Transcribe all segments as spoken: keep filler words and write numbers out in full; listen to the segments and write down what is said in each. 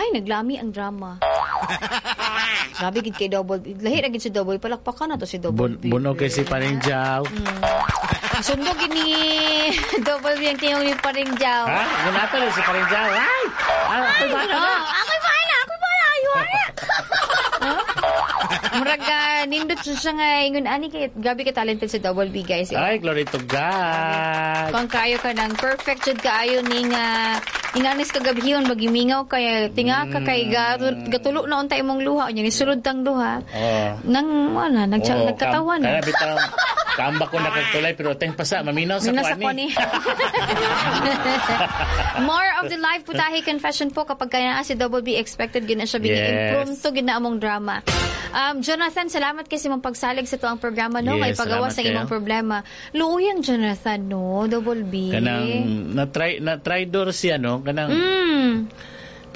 Ay, naglami ang drama. Grabe gid kay Double B. Lahi ra gid si Double B. Palakpakan na to si Double Bun B. buno kay si Paring Jaw. Sundo gid ni Double B ang tingog ni Paring Jaw. Ha? Gunato na si Paring Jaw. Ay! Ah, ako'y bata na. Oh, ako'y bahala, ako'y bahala. Ayun na. Huh? Murag ah, nindot siya nga ingon ani kay grabe ka talented si Double B, guys. Ay, glory to God. Kung kayo ka ng perfect jud kaayo ning uh, inganis kagabhion magimingaw kay tinga ka kay ga- gatulo na unta imong luha, unya ni sulod tang duha. Oh. Nang wala nag Oh, nagkatawa kam- na. Kana bitaw kamba ko nakagtulay pero teng pasa maminaw sa Minaw sa kuani. kuani. More of the live putahe confession po kapag kaya na si Double B, expected gina siya bigay Yes. impromptu gina among drama. Um, Jonathan, salamat kasi mong pagsalig sa tuang programa, no, Yes, kay pagawas salamat sa imong kayo. problema. Luuyang Jonathan, no, Double B. Kanang na try na traidor siya, no, kanang Mm.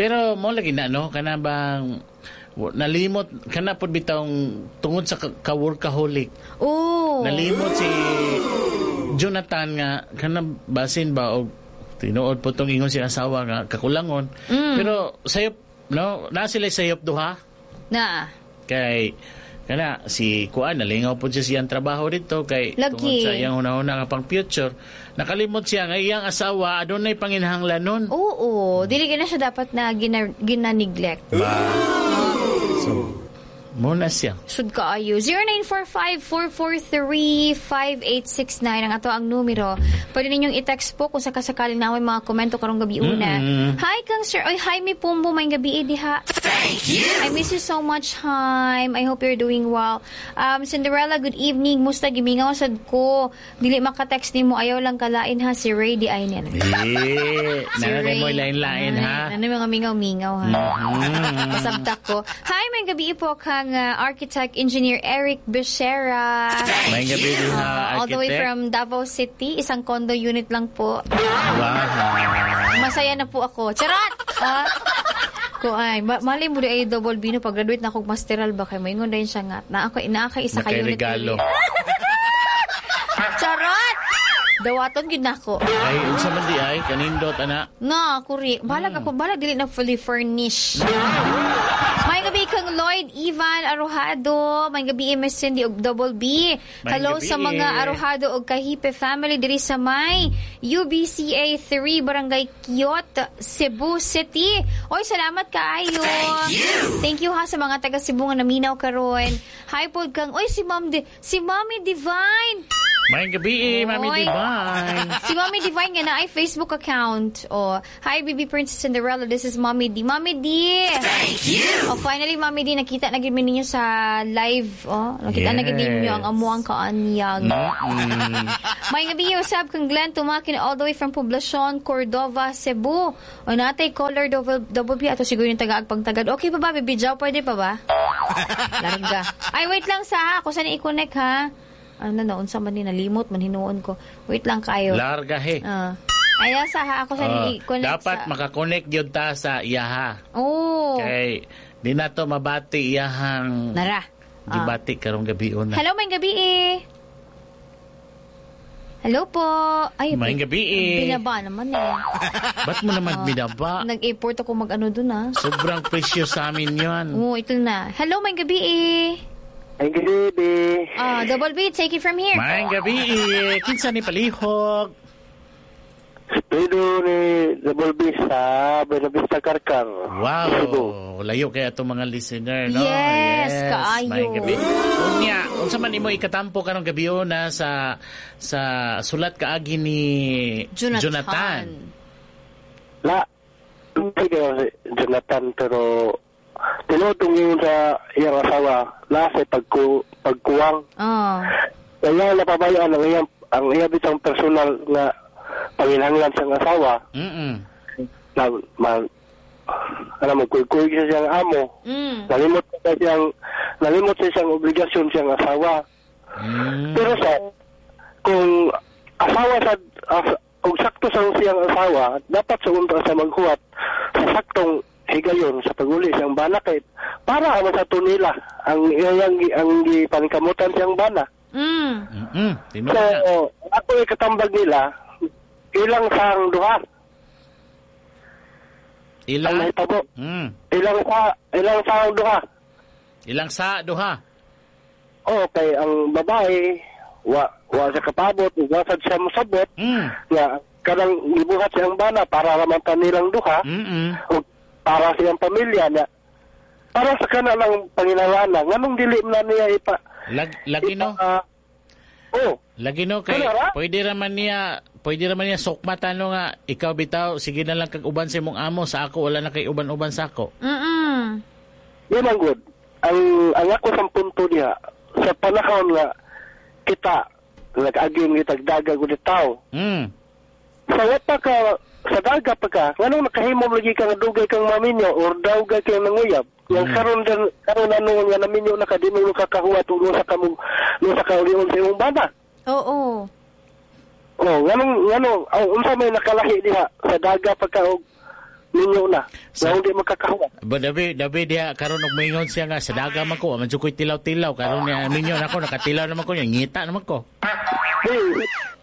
pero mo lagi na, no, kana bang w- nalimot kana pud bitawng tungod sa ka- ka-workaholic. Oh. Nalimot si Jonathan nga kana basin ba og tinuod po tong ingon si asawa nga kakulangon. Mm. Pero sayop, no, na sila sayop duha Na. Kay kana si kuan nalingaw po siya siyang trabaho dito kay Lagi. tungod sa iyang hunahuna nga pang future, nakalimot siya nga iyang asawa adunay panginahanglanon. Oo, dili gina siya dapat na gina, gina-neglect. Ba, so mo na siya. Sud kaayo. zero nine four five, four four three, five eight six nine ang ato ang numero. Pwede ninyong i-text po kung sakasakaling na may mga komento karong gabi una. Mm-mm. Hi kang sir. Oy, Jaime Pumbo, may gabi eh, diha. Thank you. I miss you so much, Jaime. I hope you're doing well. Um, Cinderella, good evening. Musta, gimingaw sad ko. Dili maka-text nimo, ayaw lang kalain ha, si Ray di ay niya. Eh, Si nana Ray. mo lain-lain ha. Ano mga mingaw-mingaw ha. Mm. Pasabtak ko. Hi, may gabi po kang uh, architect engineer Eric Becerra. May gabi din ha, Uh, all the way architect. from Davao City. Isang condo unit lang po. Wow. Masaya na po ako. Charot! Ah? Ko ay, ma malay mo di ay, Double B, no, pag graduate na akong masteral ba kay moingon din siya nga na ako naa kay isa ka Nakay unit. regalo. Charot! Dawaton gid nako. Ay, unsa man di ay kanindot ana. Na, kuri. Balag ako, balag dili na fully furnished. May gabi kang Lloyd Ivan Arojado. May gabi Miss Cindy og Double B. May Hello gabi. sa mga Arojado og Kahipe family diri sa may U B C A three, Barangay Kiot, Cebu City. Oy, salamat kaayo. Thank you. Thank you ha sa mga taga Cebu nga naminaw karon. Hi pod kang oy si Ma'am Di, si Mami Divine. May gabi, Mami Oy. Divine. Si Mami Divine nga na ay Facebook account. Oh, hi Baby Princess Cinderella, this is Mami D. Mami D. Thank you. Oh, finally Mami D, nakita na gid mi ninyo sa live. Oh, nakita na gid ninyo ang amuang kaanyag. Mm. May gabi usab kang Glenn Tumakin all the way from Poblacion, Cordova, Cebu. O natay caller, double, double B ato siguro yung tagaag pagtagad. Okay pa ba, Baby Jow? Pwede pa ba? Larga. Ay, wait lang sa ha. Ako saan i-connect ha? Ano na, unsa man ni, nalimot man hinuon ko. Wait lang kayo. Larga he. Ah. Ay, sa ha. Ako saan Oh, i-connect dapat sa makakonect gyud ta sa iyaha. Oh. Kay di na to mabati iyahang Nara. Ah. gibati karong gabi una. Hello, may gabi eh. Hello po. Ay, May gabi eh. Binaba naman eh. Ba't mo naman binaba? Nag-effort ako mag-ano dun ah. Sobrang precious sa amin yun. Oo, ito na. Hello, may gabi eh. Ay, good evening. Ah, Double B, take it from here. May gabi eh. Kinsa ni, palihog? Pedro ni Double B sa Buenavista, Carcar. Cebu. Wow, layo kaya itong mga listener, no? Yes, kaayo. May gabi. Unya, unsa man imo ikatampo karong gabi na sa sa sulat kaagi ni Jonathan. Jonathan? La, hindi kayo si Jonathan pero tinutong yun sa iyang asawa la sa pagku, pagkuwang. Oh. Kaya napabayaan ang iyang ang iyang bitang personal nga panginahanglan siyang asawa Mm. na ma, ano, magkuy-kuy siya siyang amo. Mm. Nalimot siya siyang nalimot siya siyang obligasyon siyang asawa. Mm. Pero sa kung asawa sa as, kung sakto sa siyang asawa, dapat sa unta sa maghuwat sa saktong higayon sa paguli siyang bana kay para man sa tunila ang iyang ang gipaningkamutan siyang bana. Mm. Mm. Tinuod So, na. ako ikatambag nila ilang sang duha. Ang Ilang nahitabo. mm, Ilang sa ilang sa duha. ilang sa duha. Oh, kay ang babae wa wa sa kapabot, wa sad siya mosabot Mm. nga kanang gibuhat siyang bana para raman ta nilang duha Mm. o para siyang pamilya na para sa kana lang panginahanglan nganong dili man na niya ipa Lag, lagi no. ipa- oh Lagi no kay Ano, ra? pwede ra man niya pwede ra man niya sukmatan no nga ikaw bitaw sige na lang kag uban sa imong amo sa ako wala na kay uban-uban sa ako. Mm. Yan ang good. Ang, ang ako sa punto niya, sa panahon nga kita, nag-agim kita daga gud tao. Mm. Sa wapa ka, sa daga pa ka, nganong nakahimo lagi ka nga dugay kang maminyo or dawgay kang nanguyab. Yang Mm. karon din karon ano nga naminyo na ka di mo kakahuwat ug sa ka mo sa ka ulion sa imong bana. Oo. Oh, nganong nganong oh, unsa may nakalahi diha sa daga pa ka og minyo na. Sa- Nga hindi makakahuwat. Ba dabi dabi diha karon og moingon siya nga sa daga man ko, man jud ko'y tilaw-tilaw karon niya minyo nako nakatilaw naman ko niya ngita naman ko.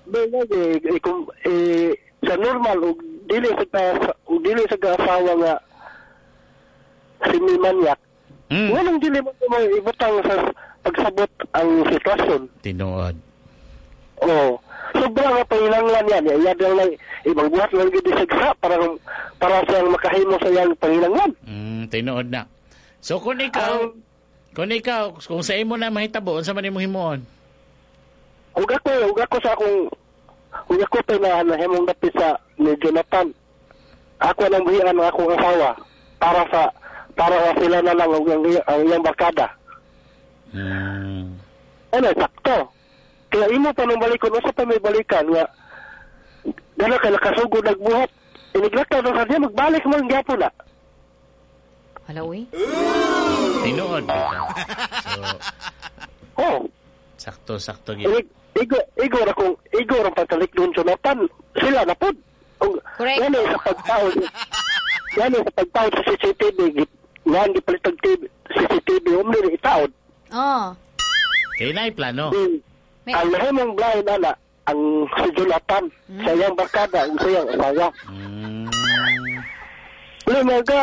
Di, di, di, eh, kung, eh, sa normal, ug dili sa ka, ug dili sa kaasawa nga si manyak, Mm. nganong dili mo mo ibutang sa pagsabot ang sitwasyon. Tinuod. Oo. Sobra nga panginanglan yan. Iya lang lang, ibang buhat lang gid sa para para siyang makahimo sa iyang panginanglan. Mm, tinuod na. So kung ikaw, Ang- kung ikaw, kung sa imo na mahitabo, unsa man imong himuon? Ug ako, ug ako sa akong ug ako pa na nahimong dapit sa ni Jonathan. Ako nang buhian ang akong asawa para sa para nga sila na lang ang, ang, ang iyang barkada. Mm. Ano, sakto. Kaya imo pa nung balikon, usa pa may balikan nga gana kay nakasugod nagbuhat. Iniglakaw na sa niya, magbalik mo ang gyapon na. Wala uy. Tinuod bitaw. So Oh, sakto sakto gyud. inig, igo, igo ra kung igo ra pagkalik doon Jonathan, sila na pod. Ug Correct. Gani sa pagtaon, gani sa pagtaon sa C C T V, gi- nga gipalit og T V, C C T V, umli ni itaod. Oh. Kay naay plano. Mm. May- Ang nahimong blind ana, ang si Jonathan, sa iyang barkada, ug sa iyang asawa. Mm. Uli mga ka,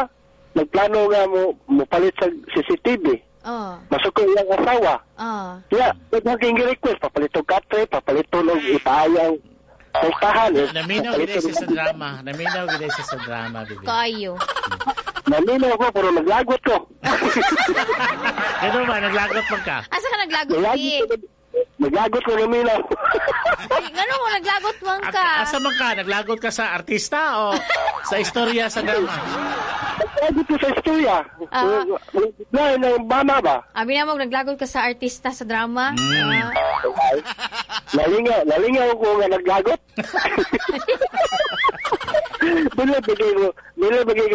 nagplano nga mo, mo palit sa C C T V. Oh. Masuko iyang asawa. Oh. Ya, naging request, papalit og katre, papalit og ipaayang pultahan. Eh. Naminaw Papalit gid og- siya sa drama. Naminaw gid siya sa drama, bibi. Kayo. Naminaw ko, pero naglagot ko. Kano ba naglagot man ka? Asa ka naglagot, Naglagot bi? ko, naglagot ko naminaw. Ay, ngano mo naglagot man ka? Asa man ka? Naglagot ka sa artista o sa istorya sa drama? Naglagot ko sa istorya. Ah. Na, na, bana ba? Abi na mo naglagot ka sa artista sa drama. Mm. Ah. Nalingaw, nalingaw ko nga naglagot. Dili bagay ko, dili bagay ko.